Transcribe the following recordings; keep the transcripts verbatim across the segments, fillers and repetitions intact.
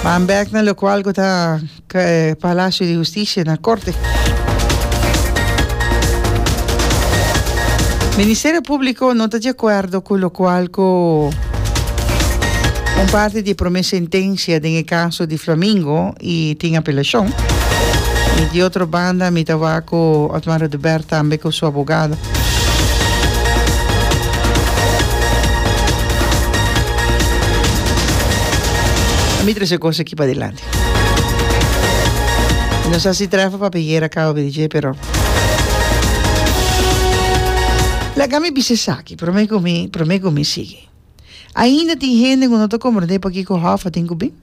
Ban bek na locual cu ta Palacio di Husticia na Corte. Ministerio Publico no ta di acuerdo cu locual cu un parti di e prome sentencia den e caso di Flamingo y tin apelacion. Y di otro banda mi ta wak cu Otmar Oduber tambe cu su abogado. Mi trece cos aki padilanti. No sa si trefa papia yera caba di dje, pero laga mi bisa esaki prome cu mi, prome cu mi sigui. Ainda tin hende cu no ta comprende pakico Hoffa tin cu bin.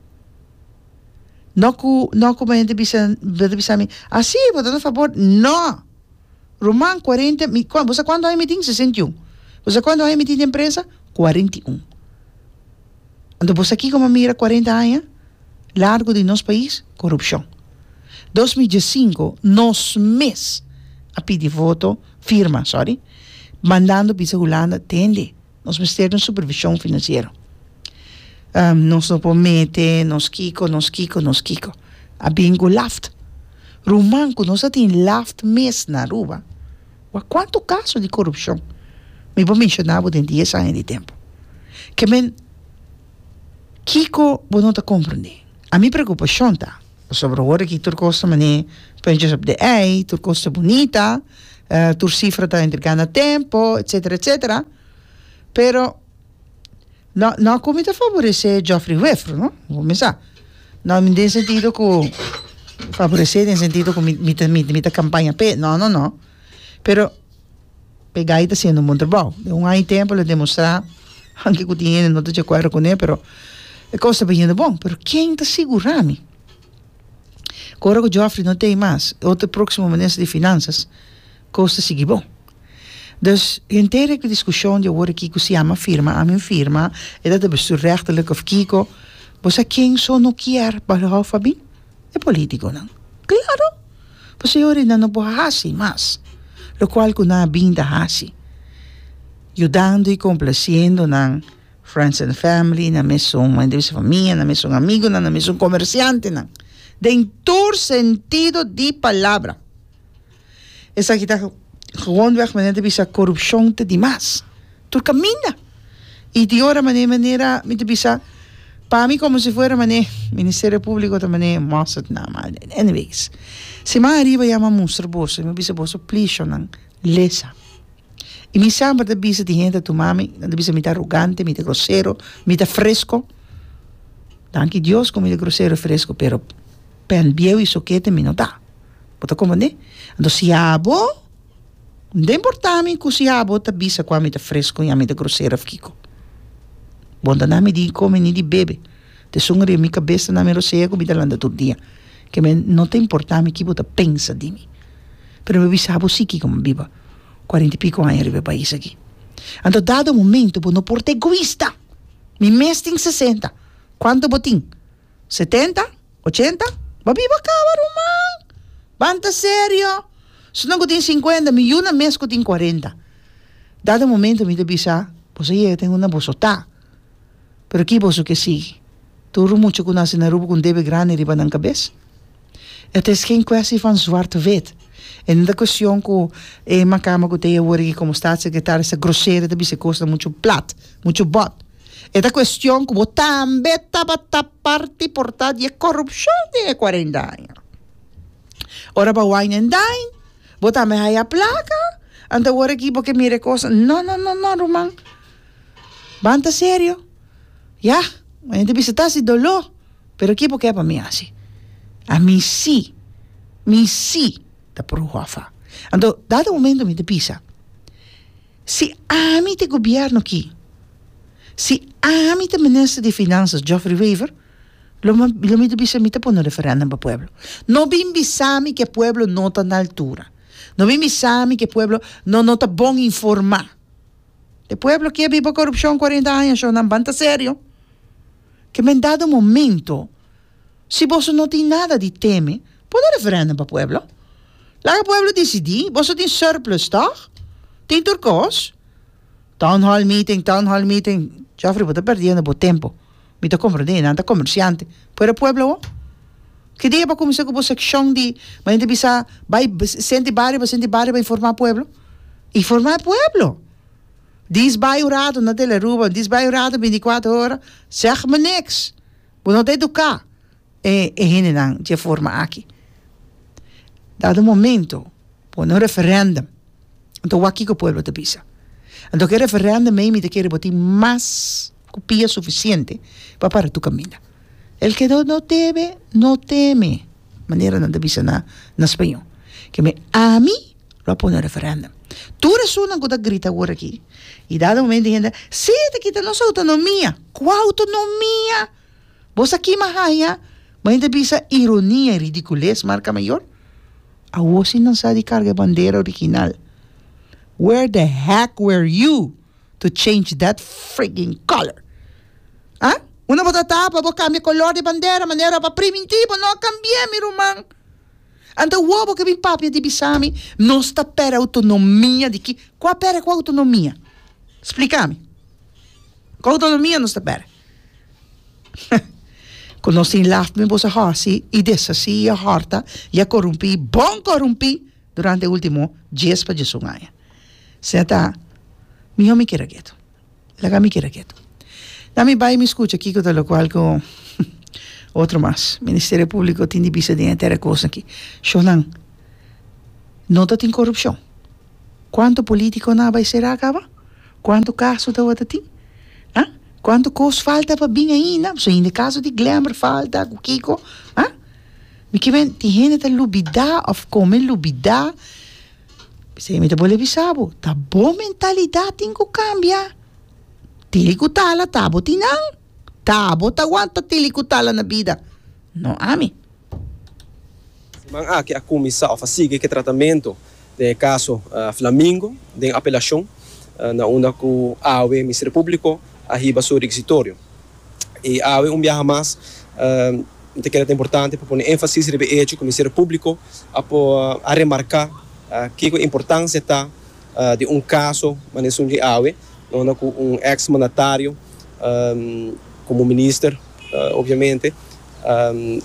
No cu, no cu hende bisa, bo ta bisa mi, ah si, bo ta na fabor. No! Ruman, cuarenta, mi, bo sa cuanto aña mi tin? Sesenta i un. Bo sa cuanto aña mi tin den prensa? Cuarenta i un. Anto bo sa kiko mi a mira cuarenta aña largo di nos pais? Corupcion. Dos mil diescinco nos mes a pidi voto, firma, sorry, mandando bisa Hulanda, tende, nos mester di un supervision financiero. Nos no por mete, nos kiko, nos kiko, nos kiko. A bin cu laft. Ruman cu nos a tin laft mes na Aruba, wak cuanto caso di corupcion mi por menciona bo den dies aña di tempo. Ke men, kiko bo no ta comprende? A mi preocupacion ta, pasobra awor aki tur cos ta mane puntjes op de i, tur cos ta bunita, tur cifra ta entrega na tempo, etcetera, etcetera, pero no, no cu mi ta favorece Geoffrey Wever, no, bo mi sa. No, den sentido cu favorece den sentido cu mi, mi ta, mi, mi ta campaña p'e, no, no, no. Pero e gai ta haciendo un bon trabao. Den un aña y tempo lo demostra, aunke cu tin hende no ta di acuerdo cune, pero e cos ta bayendo bon. Pero ken ta sigura mi? Cu ora cu Geoffrey no t'ey mas, otro proximo minister di Finanzas, cos ta sigui bon. Dus henter e discusion di awor aki cu si ama firma, ami firma, e ta ta bestuurrechtelijk of kiko, bo sa ken so no kier pa lo hou fabi? E politiconan. Claro! Pasobra ora nan no por haci mas locual cu nan a bin ta haci, yudando y complaciendo nan friends and family, nan mesun hende di su famia, nan mesun amigonan, nan mesun comerciantenan, den tur sentido di palabra. Esaki ta gewoonweg manera ta bisa corupcion ta di mas. Tur caminda. Y di ora manera manera mi ta bisa pa mi como si fuera mane Ministerio Publico ta mane mostra na mal. Anyways, siman ariba ya mi a mustra boso, mi a bisa boso plishonan lesa. Y mi semper ta bisa di hende ta tuma mi, nan ta bisa mi ta arrogante, mi ta grosero, mi ta fresco. Danki Dios cu mi ta grosero y fresco, pero pen bieu y sokete mi no ta. Bo ta comprende? Anto si abo, no ta importa mi cu si abo ta bisa cu ami ta fresco y ami ta grosero of kico. Bo no ta na mi di come ni di bebe. Ta esun riba mi cabes ta na mi rosea cu mi ta lanta tur dia. Ke men no ta importa mi ki bo ta pensa di mi. Pero mi bisa bo si kico mi biba cuarenta y pico aña riba e pais aki. Anto dado momento bo no por ta egoista. Mi mes tin sesenta. Cuanto bo tin? Setenta? Ochenta? Bo a biba caba ruman! Ban ta serio! Esnan cu tin cincuenta, mi yuna mes cu tin cuarenta. Dado momento mi ta bisa, boso yega ten unda boso ta. Pero ki boso ke sigui? Tur mucha cu nace na Aruba cu un debe grandi riba nan cabes? Het is geen kwestie van zwart-wit. E no ta cuestion cu e macama cu ta ey awor aki como staatssecretaris ta grosero ta bisa e cosnan mucho plat, mucho bot. E ta cuestion cu bo tambe tabata parti por ta di e corupcion den e cuarenta aña. Ora bo a wine and dine, bo tambe haya placa, anto awor aki bo ke mira e cosnan. No, no, no, no, ruman. Ban ta serio. Ya, hende bisa ta hasi doló, pero ki bo ke pa mi hasi? Ami sí, mi sí ta por hofa. Anto, dado momento mi ta bisa, si ami ta e gobierno aki, si ami ta minister di Finanzas Geoffrey Wever, lo mi, lo mi ta bisa mi ta pone un referendum pa pueblo. No bin bisa mi ku e pueblo no ta na altura. No bin bisa mi ku e pueblo no no ta bon informá. E pueblo ke biba korupshon kuarenta aña shon nan ban ta serio. Ke men dado momento si boso no tin nada di teme pone referendum pa pueblo. Laga pueblo disidí, boso tin surplus tòg? Tin tur kos. Town hall meeting, town hall meeting, Geoffrey bo ta perdiendo bo tempo. Mi ta komprondé, nan ta komersiante. Pero pueblo awor? Ki dia bo a kuminsá ku bo sekshon di ma hende bisa bai senti bario pa senti bario pa informá pueblo? Informá e pueblo! Dis bai un rato na Telearuba, dis bai un rato binti kuater ora, zeg me niks. Bo no ta eduká e e hendenan dje forma aki. Dado momento, pone un referendum. Anto wak kiko pueblo ta bisa. Anto ku e referendum ei mi ta kere bo tin mas ku pia sufisiente pa para tur kaminda. El que no debe, no teme, manera nan ta bisa na na spañó. Ke me ami lo a pone un referendum. Tur esunnan ku ta grita awor aki i dado momento hende, si ta kita nos outonomia. Kua outonomia? Bo sa kima haña? Bo hende bisa ironia i ridikules marka mayor. Awor si nan sa di karga e bandera original. Where the heck were you to change that frigging color? Ah? Unda bo ta tapa bo kambia kolor di bandera manera pa primintí bo no a kambi'é mi ruman. Anto awor bo ke bin papia di bisa mi nos ta pèrdè outonomia di ki? Kua pèrdè kua outonomia? Splika mi. Kua outonomia nos ta pèrdè? Ku nos tin laf mi boso hasi i deshasí i a hòrta i a korumpí bon korumpí durante e último dies pa diesun aña. Sea ta mihó mi keda ketu. Laga mi keda ketu. Na mi bai mi skucha kiko ta lokual ku otro mas Ministerio Públiko tin di bisa den e tera kos aki. Shownan, no ta tin korupshon. Kuantu politikonan a bai será kaba? Kuantu kaso tabata tin? Ah? Kuantu kos falta pa bin ainda? Pasobra ainda e kaso di Glemmer falta ku kiko. Ah? Mi ke men tin hende ta lubidá òf kome lubidá. P'esei mi ta bolbe bisa bo, ta bo mentalidat tin ku kambia. Tili ku tala ta bo tin nan. Ta bo ta wanta tili ku tala na bida, no ami. Siman aki a kuminsá òf a sigui ku e tratamentu den e kaso Flamingo den apelashon na unda ku awe Ministerio Públiko a hiba su rekisitorio. I awe un biaha mas mi ta kere ta importante pa pone énfasis riba e echo ku Ministerio Públiko a por a remarká kiko e importansia ta di un kaso manera esun di awe na unda ku un eks mandatario komo minister obviamente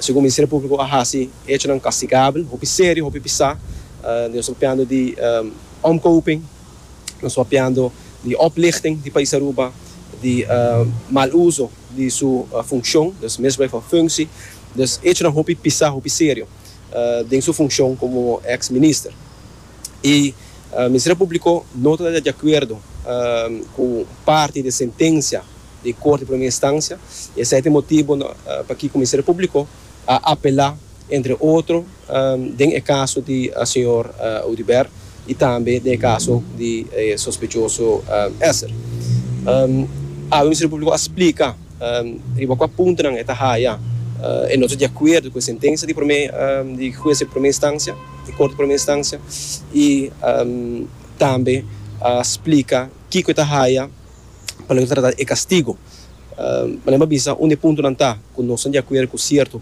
segun Ministerio Públiko a hasi echonan kastigabel hopi serio hopi pisá. Nos ta papiando di omkoping, nos ta papiando di oplichting di pais Aruba, di mal uso di su funcion, dus misbruik van functie. Dus echonan hopi pisa, hopi serio den su funcion como ex minister. Y Ministerio Publico no ta di acuerdo cu parti di sentencia di Corte di Primera Instancia y esey ta e motibo pakico Ministerio Publico a apela entre otro den e kaso di señor Oduber i tambe den e kaso di e sospechoso Esser. Awe Ministerio Públiko a splika riba kua puntonan e ta haya e no ta di akuerdo ku e sentensia di promé di hues di promé instansia, di korte di promé instansia i tambe a splika kiko e ta haya pa loke ta trata e kastigo. Manera mi a bisa, un di e puntonan ta ku nos ta di akuerdo ku sierto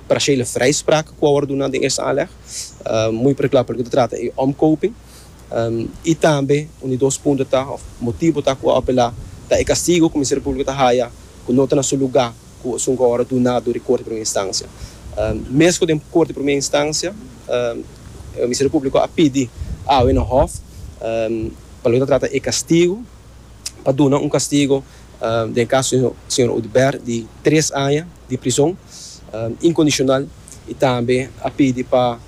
parciële vrijspraak ku a wòrdu duna den eerste aanleg, muy particular pa loke ta trata e omkoping. I tambe un di dos punto ta òf motibu ta ku a apelá ta e kastigo ku Ministerio Públiko ta haya ku no ta na su lugá ku esun ku a wòrdu duna dor di Korte di Primera Instansia. Mes ku den Korte di Primera Instansia Ministerio Públiko a pidi awe na Hòf pa loke ta trata e kastigo pa duna un kastigo den e kaso di señor Oduber di tres aña di prizon inkondishonal i tambe a pidi pa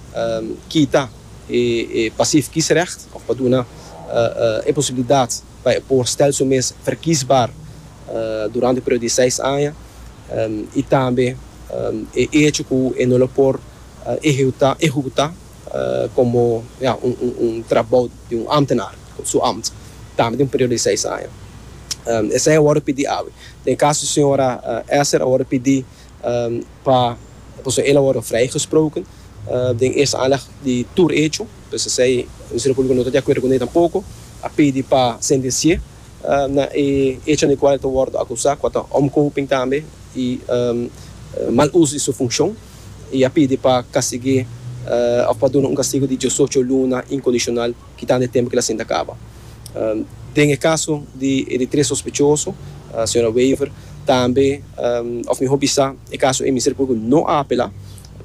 kita e pasief kiesrecht òf pa duna e posibilidat pa e por stel su mes verkiesbaar durante e periodo di seis aña i tambe e echo ku e no lo por ehekutá komo ya un un trabou di un ambtenaar, su ambt, tambe den un periodo di seis aña. Esei a wòrdu pidi awe. Den e kaso di señora Esser a wòrdu pidi pa, pasobra el a wòrdu vrijgesproken den eerste aanleg di tur echo, pues esei Ministerio Públiko no ta di akuerdo kuné tampoko, a pidi pa sentensi'é na e echo den kual el ta wòrdu akusá, kua ta omkoping tambe i mal uso di su funshon. I a pidi pa kastig'é òf pa duna un kastigu di diesocho luna inkondishonal kitando e tempu ku el a sinta kaba. Den e kaso di e di tres sospechoso, señora Wever, Tambe, of miho bisa, e caso ey Ministerio Publico no a apela,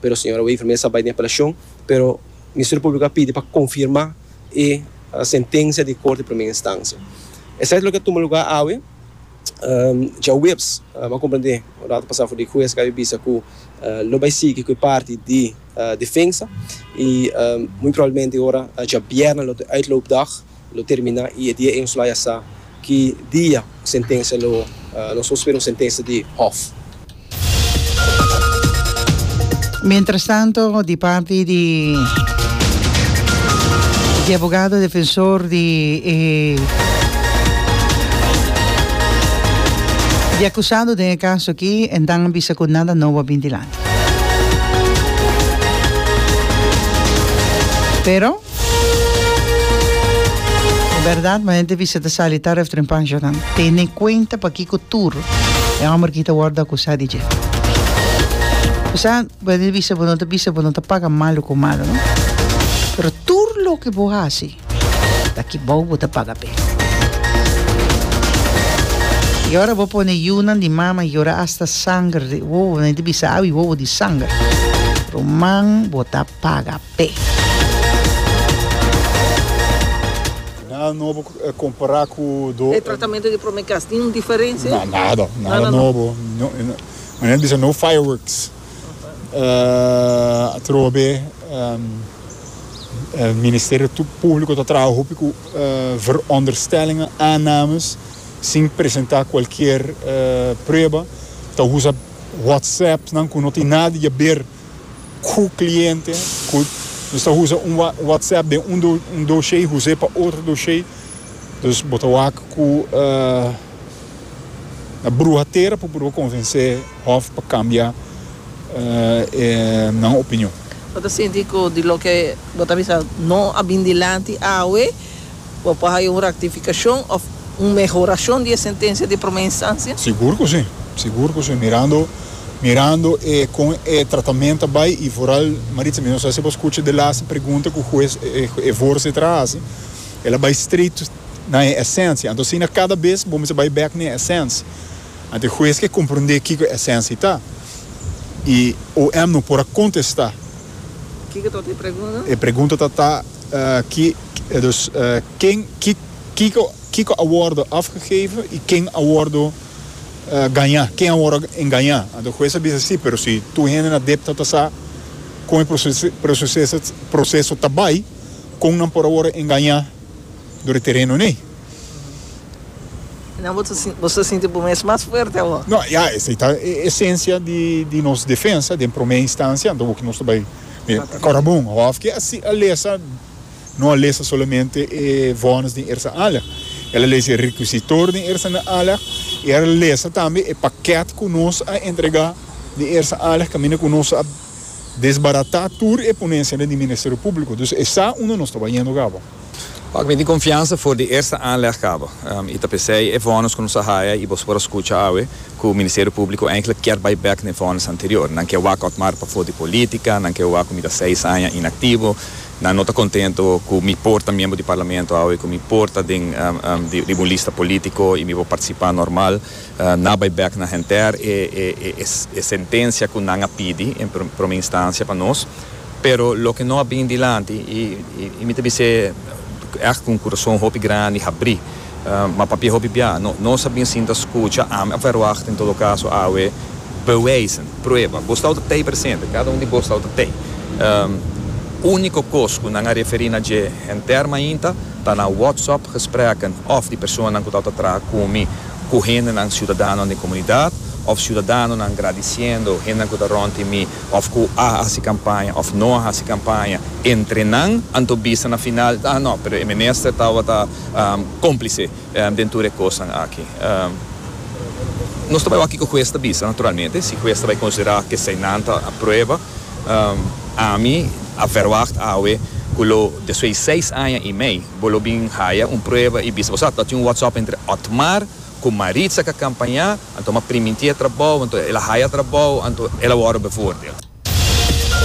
pero señora Wever mes a bay den apelacion, pero Ministerio Publico a pidi pa confirma e sentencia di Corte di Primera Instancia. Esey ta loke a tuma lugar awe. Djaweps, mi a comprende un rato pasa for di hues cu a bisa cu lo bay sigui cu e parti di defensa y muy probablemente ora djabierna lo ta e uitloopdag lo termina y e dia ey nos lo haya sa ki dia sentencia lo nos por spera un sentencia di Hof. Mientrastanto di parti di di abogado defensor di e di acusado den e caso aki en dan a bisa cu nada nobo a bin dilanti. Pero e berdad ma hende bisa ta sali taref trempanjonan tene cuenta pakico tur e homber aki ta wordo acusa di dje. Bo sa, bo hende bisa bo no ta bisa bo no ta paga malo cu malo no, pero tur loke bo haci ta ki bou bo ta paga p'e. Y ora bo pone yunan di mama yora hasta sanger di wowo, nan ta bisa awi wowo di sanger, ruman bo ta paga p'e. Nada nobo compara cu do. E tratamento di prome cas tin un diferencia? Na, nada, nada nobo. Manera bisa no fireworks. Atrobe Ministerio Publico ta traha hopi cu veronderstellingen, aannames, sin presenta cualkier prueba. Ta usa WhatsAppnan cu no tin nada di haber cu cliente. Cu nos ta usa un WhatsApp den un dossier, us'e pa otro dossier. Dus bo ta wak cu na bruha tera pa purba convence Hof pa cambia nan opinion. Bo ta sinti cu di loke bo ta bisa no a bin dilanti awe, bo por haya un rectificacion of un mehoracion di e sentencia di prome instancia? Sigur cu si, sigur cu si. Mirando, mirando e con e tratamento a bay y vooral, Maritza, mi no sa si bo scucha de laatste pregunta cu huez, e voorzitter a haci, el a bay straight na e esencia. Anto asina cada bes bo mester bay bek na e esencia. Anto e huez ke comprende kico e esencia ta. Y O M no por a contesta. Kico ta e pregunta? E pregunta ta ta ki, dus ken, ki, kico, kico a wordo afgegeven y ken a wordo gaña, ken a wordo engaña. Anto huez a bisa si, pero si tur hende na depta ta sa con e proceso, proceso, proceso ta bay, con nan por a wordo engaña door e tereno nei. Nan bo ta sinti, bo ta sinti bo mes mas fuerte awor? No, ya, esei ta e esencia di, di nos defensa den prome instancia, anto bo nos ta bay Cora bon, hof ke a si a lesa, no a lesa solamente e vonnis den eerste aanleg. El a lesa e requisitor den eerste aanleg y el a lesa tambe e pakket cu nos a entrega den eerste aanleg, caminda cu nos a desbarata tur e ponencianan di Ministerio Publico. Dus e sa unda nos ta bayendo caba. Wak, mi tin confiansa for di eerste aanleg caba. Y ta pesey e vonnis cu nos a haya y boso por a scucha awe cu Ministerio Publico eigenlijk kier bay bek na e vonnis anterior. Nan kier wak Otmar pafo di politica, nan kier wak cu mi ta seis aña inactivo, nan no ta contento cu mi por ta miembro di parlamento awe, cu mi por ta den riba un lista politico y mi por participa normal. Nan a bay bek na henter e e sentencia cu nan a pidi en prome instancia pa nos. Pero loke no a bin dilanti y mi ta bis'é echt cu un curason hopi grandi habri, ma papia hopi bia. No, nos a bin sinta scucha, ami a verwacht en todo caso awe bewijzen, prueba. Bo stau ta tei presente, cada un di bo stau ta tei. Unico cos cu nan a referi na dje henter mainta ta na WhatsApp gesprekken of di personanan cu tau ta traha cu mi cu hendenan ciudadanonan den comunidad of ciudadanonan gradiciendo hendenan cu ta rond di mi of cu a haci campaña of no a haci campaña entre nan, anto bisa na final, ah no, pero e minister tabata complice den tur e cosnan aki. Nos ta bay wak kico huez ta bisa naturalmente, si huez ta bay considera cu eseinan ta a prueba. Ami a verwacht awe cu lo despues di seis aña y mei bo lo bin haya un prueba y bisa bo sa ta tin un WhatsApp entre Otmar cu Maritza ca campaña, anto m'a priminti e trabou, anto el a haya trabou, anto el a worde bevoordeeld.